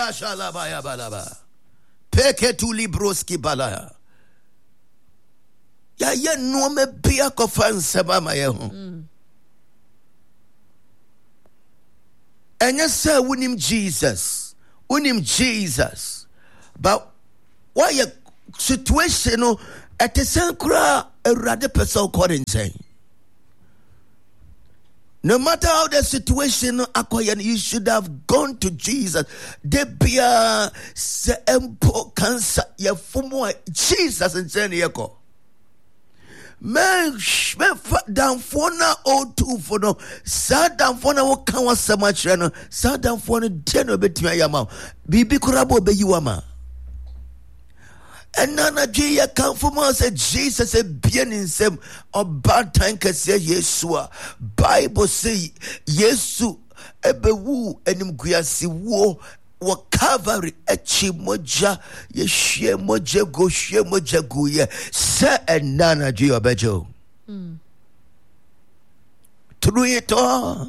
Kashalabaya Peketuli broski balaya. Yɛayɛ nneɛma bi akɔfa nsɛm ama yɛn ho. Ɛnyɛ sɛ wonim Jesus, wonim Jesus, but woayɛ situation no ɛte sɛn koraa Awurade pɛ sɛ wokɔ ne nkyɛn. No matter how the situation akɔyɛ no, you should have gone to Jesus. De biara sɛ mpo cancer yɛfom a Jesus nkyɛn ne yɛkɔ. Mɛmfa damfoɔ no a ɔretu fo no, saa damfoɔ no a woka w'asɛm akyerɛ no, saa damfoɔ no deɛ na ɔbɛtumi ayɛ ama wo. Biribi koraa bɔ ɔbɛyi wo ama. Ɛna anadwo yi yɛkamfo ma sɛ Jesus abue ne nsam ɔbaatan kɛseɛ Yesu a Bible sɛ Yesu ɛbɛwu animguase wuo wɔ Calvary akyi mogya yɛhwie mogya gu hwie mogya gu yɛ sɛ ɛna anadwo yi ɔbɛgye o. Through it all.